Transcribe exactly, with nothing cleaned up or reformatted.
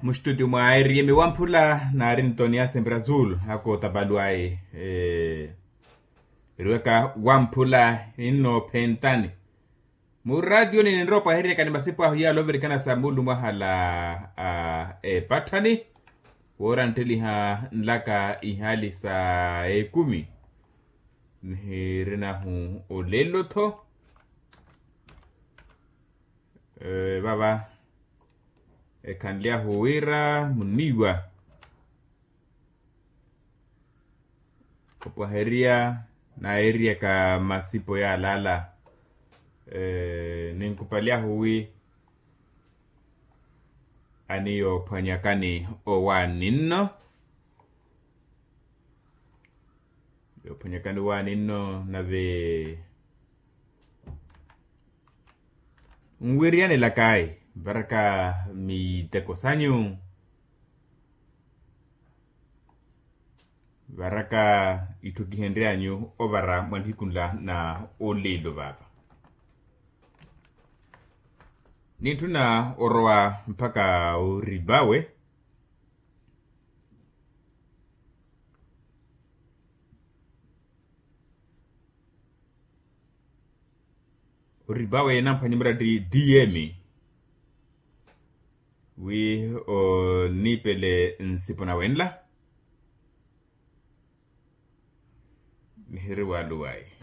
Mustudio mwa eriyemi wamphula naari ntoni ya sempera azul ako tapaluwayi. Eriwaka wamphula ninno phentani muraatiyoni ninrowa opwaheryaka ni masipu ahu yaala ovirikana sa mulumo ahala a epatthani. Woora ntteliha nlaka ihali sa ekumi nihirinahu olelo-tho. Vava ekhanly'ahu wira muniiwa opwaherya nayeeryaka masipo yaalala. Ninkupalyahu wi aniyoophwanyakani owaani nno yoophwanyakani owaani nno nave nwiriyanelakayi varaka miteko sanyu varaka itthu kihenryanyu ovara mwa nihiku nla na olelo vava nintthuna orowa mpakha orivawe. Orivawe namphwanye murati dm wi oniipele nsipo nawenla nihiri waluwayi.